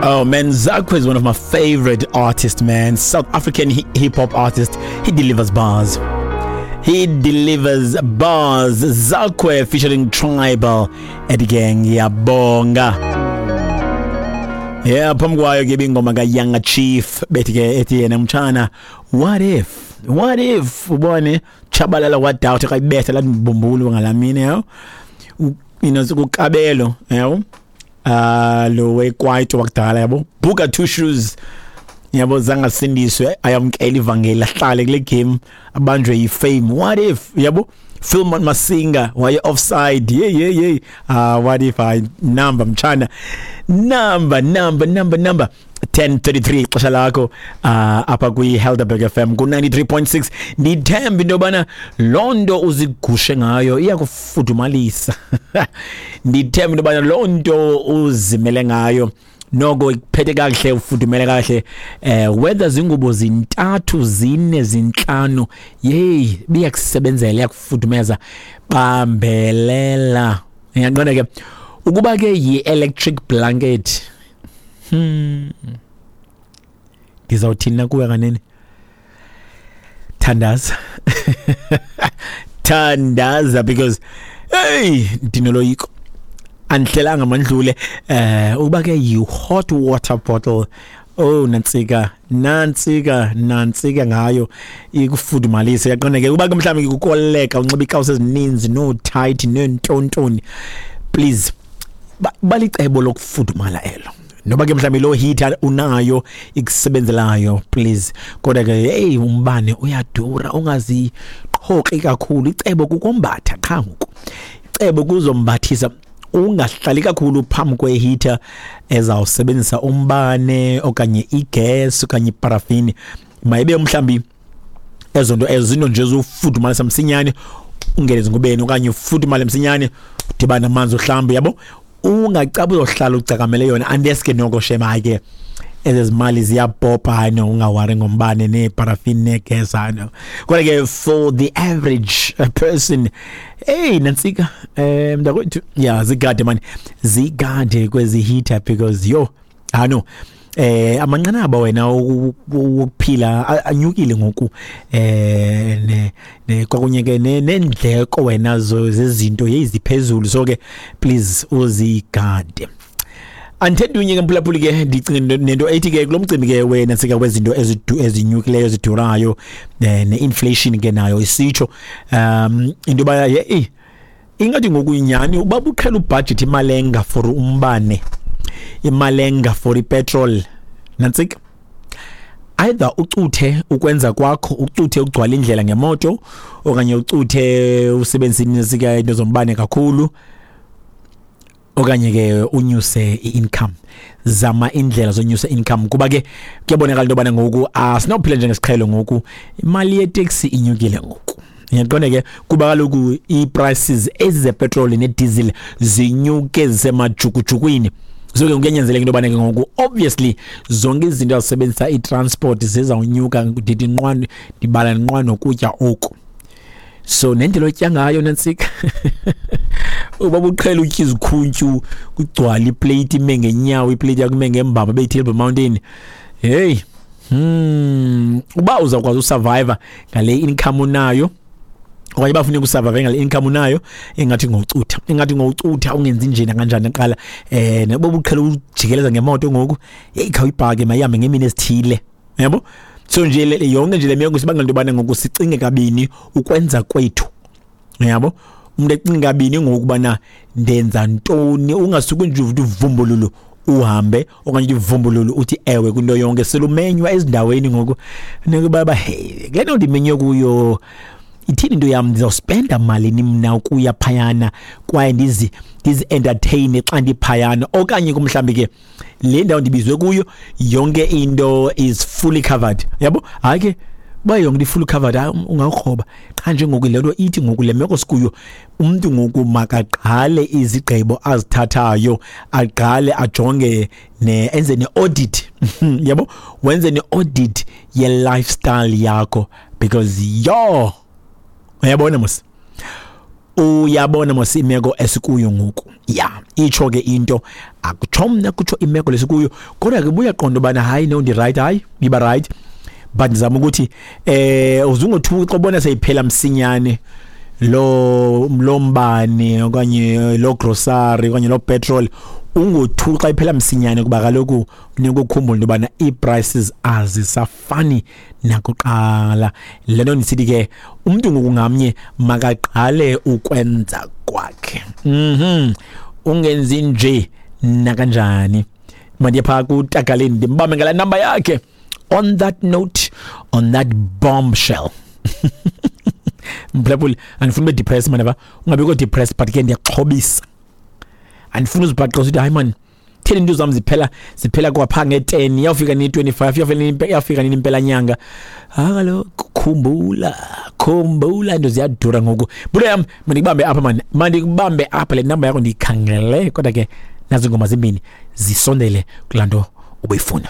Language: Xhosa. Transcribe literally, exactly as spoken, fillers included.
Oh man, Zakwe is one of my favorite artists, man. South African hip hop artist. He delivers bars. He delivers bars. Zakwe featuring Tribal at Gang Yabonga. Yeah, phambi kwayo ke ingoma kaYanga Chief bethi ke ethi yena mtshana, what if? What if ubone Chabalala wadoubt kayibetha lathi mbumbulu ngalamini yho. You know sukukabelo yho. Ah uh, lo wekwaito wakudala yabo Booker Two Shoes yabo zangasindiswe ayamkela ivangeli ahlale kule game abanjwe yifame. What if yabo Philmon Masinga waye offside. Yeah yeah yeah ah uh, what if I number mchana number number number number ten thirty-three xesha lakho uh, apha kwi Helderberg F M ku ninety-three point six. Ndithemba into yobana loo nto uzigushe ngayo iyakufudumalisa. Ndithemba into yobana loo nto uzimele ngayo noko ikuphethe kakuhle, ufudumele kahle. Eh whether zingubo zintathu, zine, zintlanu, yey biyakusebenzela, iyakufudumeza. Bambelela. Ngiyaqonda ke ukuba ke yi-electric blanket. Hmm. Ndizawuthini kuwe kanene? Thandaza. Thandaza because hey ndinoloyiko. Andihlelanga mandlule eh ukuba ke yi hot water bottle. Oh nantsika nantsika nantsika ngayo ikufudumalise. Yaqonda ke uba ke mhlawumbi kukoleka unxiba ikawusi ezininzi no tight nentontoni, please balicebo lokufudumala elo. Noba ke mhlawumbi lo heater unayo ikusebenzelayo, please. Kodwa ke hey umbane uyadura, ungaziqhoqi kakhulu. Icebo kukombatha qha ngoku, icebo kuzombathisa. Ungahlali kakhulu phambi kwe-heater ezawusebenzisa umbane okanye igas okanye iparafini. Mayibe mhlawumbi ezo nto ezo zinto nje zofudumalisa msinyane, ungene ezingubeni okanye ufudumale msinyane, udibane amanzi uhlambe yabo. Ungacaba uzohlala ucakamele yona unless ke noko shema ke ezezimali ziyabhobha, hayi no, ungawari ngombane neeparafini neegas, hayi no. Kodwa ke for the average person, hey nantsika eh mntakwethu, yeah zigade man, zigade kwezi heater because yo hayi no eh amanqanaba wena wokuphila anyukile ngoku eh ne ne kwakunye ke nendleko wena zezinto yeziphezulu, so ke please uzigade. Andithethe ke mphulaphuli ke ndicinga nento ethi ke kulomcimbi ke wena sika kwezinto ezinyukileyo ezidurayo ne-inflation ke nayo isitsho um into yoba hey ingathi ngoku inyani uba buqhela ubudget imalenga for umbane, imalenga for ipetrol nantsika. Either ucuthe ukwenza kwakho, ucuthe ukugcwala indlela ngemoto okanye ucuthe usebenzise sika into zombane kakhulu okanye ke unyuse i-income. Zama indlela zonyusa income kuba ke kuyabonakala into yobana ngoku asinophila njengesiqhelo ngoku, imali yeteksi inyukile ngoku. Ngiyaqonda ke kuba kaloku ii-prices ezi zepetroli nediesel zinyuke zisemajukujukwini. So ke kuyanyanzeleka into yobana ke ngoku obviously zonke izinto azisebenzisa i-transport zizawunyuka, ndithi nqwa ndibala nqwa nokutya oku. So nendlela otya ngayo nantsika uba buqhela utya izikhuntyu kugcwala iplate ime ngenyawo, iplate yakho ime ngembamba beyi-Table Mountain. Hey hmm uba uzawukwazi usurvive ngale income unayo okanye bafuna ukusurvive ngale income unayo, ingathi ngocutha ingathi ngocutha ungenzi njena kanjani aqala eh noba uqhela ujikeleza ngemoto ngoku, hey khawuyibhake mayihambe ngemini ezithile yabo. So nje yonke nje le meko sibangela into yobana ngoku sicinge kabini ukwenza kwethu yabo. Umuntu ecinga kabini ngokubana ndenza ntoni, ungasuki nje uthi uvumbululo uhambe okanye uvumbululo uthi ewe kwinto yonke. Selumenywa ezindaweni ngoku nikuba hey kule nto ndimenywe kuyo ithini into yam, ndizawuspenda malini mna ukuya phayana kwaye ndizi ndizi entertain xa ndiphayana, okanye kumhlambi ke le ndawo ndibizwe kuyo yonke into is fully covered yabo. Hayi ke uba yonke into fully covered ungawukroba qha nje ngoku le nto ithi ngoku le meko sikuyo umntu ngoku makaqhale izigqibo azithathayo, aqale ajonge ne enze ne-audit yabo, wenze ne-audit ye-lifestyle yakho because yo uyabona mos Uyabona mos imeko esikuyo ngoku. Ya, itsho ke into, akutsho mna, kutsho imeko lesikuyo, kodwa ke buya qonda ubana hayi no ndi right, hayi iba right, but ndizama ukuthi eh uzungothuka xa ubona seyiphela msinyane lo lo mbane okanye lo grocery okanye lo petrol, ungothuka xa iphela msinyane, kuba kaloku funeka ukhumbule into yobana ii-prices azisafani nakuqala. Le nto ndisithi ke umntu ngoku ngamnye makaqale ukwenza kwakhe. Mhm ungenzi nje nakanjani. Mandiye phaa kutakaleni ndimbambe ngala namba yakhe. On that note, on that bombshell, mphulaphuli, andifuni ube depressed man, ava ungabikho depressed, but ke ndiyaxhobisa, andifuni uzibhaqe usithi hayi man, theni into zam ziphela ziphela kwapha nge-ten, iyawufika nini twenty-five, iyawufika nini, iyawufika nini impela nyanga. Ha kaloku khumbula, khumbula into ziyadura ngoku. Bulo yam, mandikubambe apha man, mandikubambe apha, le namba yakho ndiyikhangele, kodwa ke nazo ingoma zimbini zisondele kulaa nto ubuyifuna.